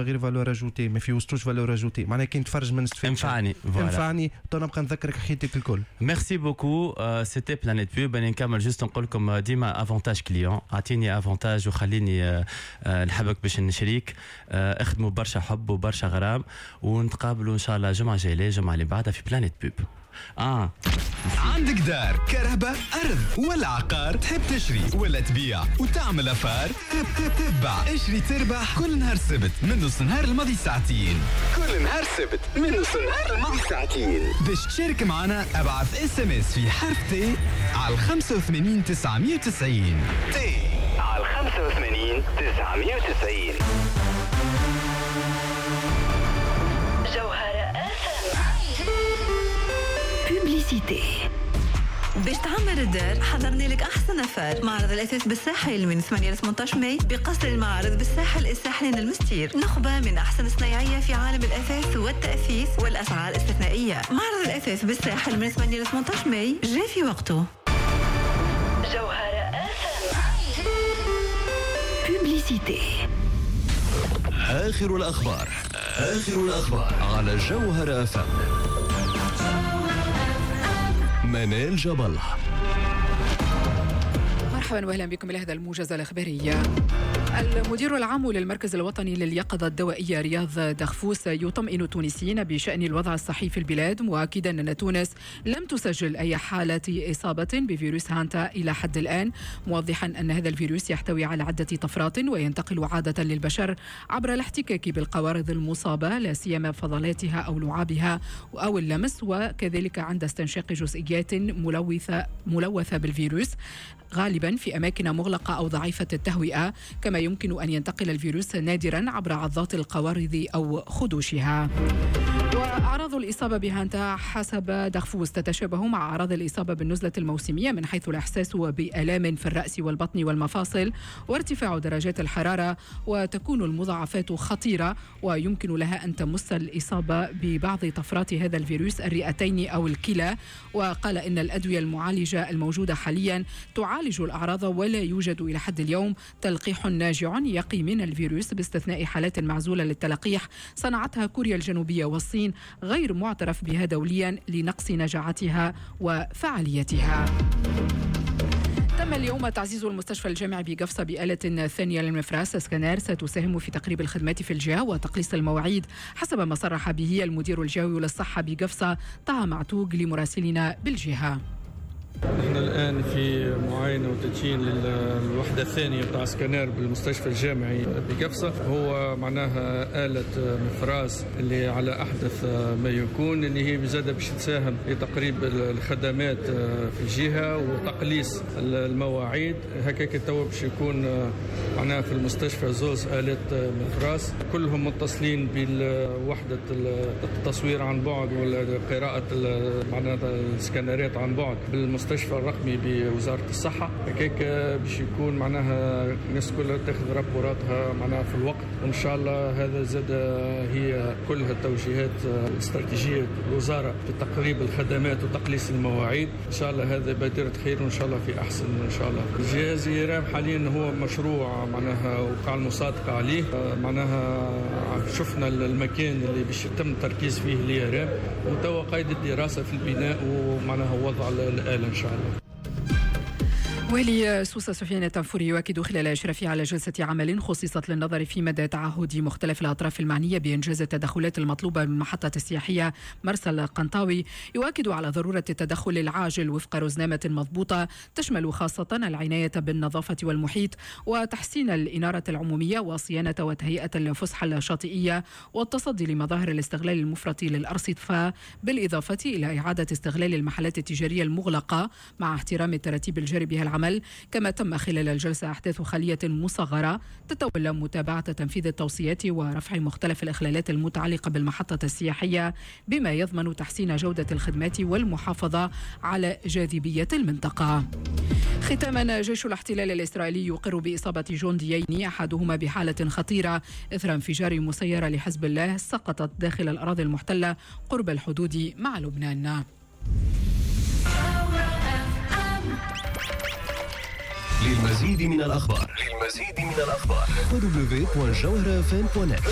غير valeur ajoutée، ما في وسطوش valeur ajoutée، معناها كي نتفرج ما نستفادش. انفعني. انفعني تو نبقى نذكرك حياتك الكل. merci beaucoup، c'était Planète Pub. انا نكمل juste نقول لكم ديما avantage client، اعطيني avantage وخليني نحبك باش نشريك. اخدموا برشا حب وبرشا غرام، ونتقابلوا ان شاء الله الجمعة الجاية، الجمعة اللي بعدها في Planète Pub. عندك دار، كرهبة، أرض ولا عقار، تحب تشري ولا تبيع وتعمل affaire؟ تبع اشري تربح كل نهار سبت من نص نهار الماضي ساعتين. كل نهار سبت من نص نهار الماضي ساعتين. باش تشارك معنا ابعث SMS في حرف T على 85 990. T على 85 990. جوهرة publicité. باش تعمر الدار حضرنا لك احسن affaire. معرض الاثاث بالساحل من 8 ل 18 ماي بقصر المعارض بالساحل الساحلين المستير. نخبة من احسن الصنايعيه في عالم الاثاث والتاثيث والاسعار استثنائية. معرض الاثاث بالساحل من 8 ل 18 ماي جاء في وقته. جوهرة publicité. اخر الاخبار، اخر الاخبار على جوهرة FM. منال جبل. مرحبا واهلا بكم الى هذا الموجز الاخباري. المدير العام للمركز الوطني لليقظة الدوائية رياض دغفوس يطمئن التونسيين بشأن الوضع الصحي في البلاد، مؤكدا أن تونس لم تسجل أي حالة إصابة بفيروس هانتا إلى حد الآن، موضحا أن هذا الفيروس يحتوي على عدة طفرات وينتقل عادة للبشر عبر الاحتكاك بالقوارض المصابة، لا سيما فضلاتها أو لعابها أو اللمس، وكذلك عند استنشاق جزئيات ملوثة بالفيروس غالبا في أماكن مغلقة أو ضعيفة التهوئة. كما يمكن أن ينتقل الفيروس نادرا عبر عضات القوارض أو خدوشها. وأعراض الإصابة بهانتا حسب دغفوس تتشابه مع أعراض الإصابة بالنزلة الموسمية من حيث الإحساس بآلام في الرأس والبطن والمفاصل وارتفاع درجات الحرارة، وتكون المضاعفات خطيرة ويمكن لها أن تمس الإصابة ببعض طفرات هذا الفيروس الرئتين أو الكلى. وقال إن الأدوية المعالجة الموجودة حاليا تعالج الأعراض ولا يوجد إلى حد اليوم تلقيح ناجع يقي من الفيروس، باستثناء حالات معزولة للتلقيح صنعتها كوريا الجنوبية والصين غير معترف بها دوليا لنقص نجاعتها وفعاليتها. تم اليوم تعزيز المستشفى الجامعي بقفصة بآلة ثانية للمفراس سكانير ستساهم في تقريب الخدمات في الجهة وتقليص المواعيد، حسب ما صرح به المدير الجهوي للصحة بقفصة طه معتوق لمراسلنا بالجهة. نحن الآن في معاينة وتدشين للوحدة الثانية بتاع سكانير بالمستشفى الجامعي بقفصة. هو معناها آلة مفراس اللي على أحدث ما يكون، اللي هي بزادة باش تساهم في تقريب الخدمات في الجهة وتقليص المواعيد. هكاك تو باش يكون معناها في المستشفى زوز آلات مفراس كلهم متصلين بالوحدة التصوير عن بعد وقراءة معناها السكانيرات عن بعد بالمستشفى الرقمي بوزارة الصحة. هكاك باش يكون معناها الناس كلها تاخذ رابوراتها معناها في الوقت، وإن شاء الله هذا زاد هي كلها التوجيهات الاستراتيجية الوزارة في تقريب الخدمات وتقليص المواعيد. إن شاء الله هذا بادرة خير وإن شاء الله في أحسن إن شاء الله. الجهاز IRM حاليا هو مشروع معناها وقع المصادقة عليه، معناها شفنا المكان اللي باش يتم التركيز فيه ال IRM، وتوا قيد الدراسة في البناء ومعناها وضع الآلة إن شاء الله. والي سوسة سفيان التنفوري يؤكد خلال إشرافه على جلسة عمل خصصت للنظر في مدى تعهد مختلف الأطراف المعنية بإنجاز التدخلات المطلوبة من المحطة السياحية مرسى القنطاوي، يؤكد على ضرورة التدخل العاجل وفق رزنامة مضبوطة تشمل خاصة العناية بالنظافة والمحيط وتحسين الإنارة العمومية وصيانة وتهيئة الفسحة الشاطئية والتصدي لمظاهر الاستغلال المفرط للأرصفة، بالإضافة إلى إعادة استغلال المحلات التجارية المغلقة مع احترام التراتيب الجاري بها العمل. كما تم خلال الجلسة أحداث خلية مصغرة تتولى متابعة تنفيذ التوصيات ورفع مختلف الإخلالات المتعلقة بالمحطة السياحية بما يضمن تحسين جودة الخدمات والمحافظة على جاذبية المنطقة. ختاما، جيش الاحتلال الإسرائيلي يقر بإصابة جنديين أحدهما بحالة خطيرة إثر انفجار مسيرة لحزب الله سقطت داخل الأراضي المحتلة قرب الحدود مع لبنان. للمزيد من الأخبار www.jawharafm.net.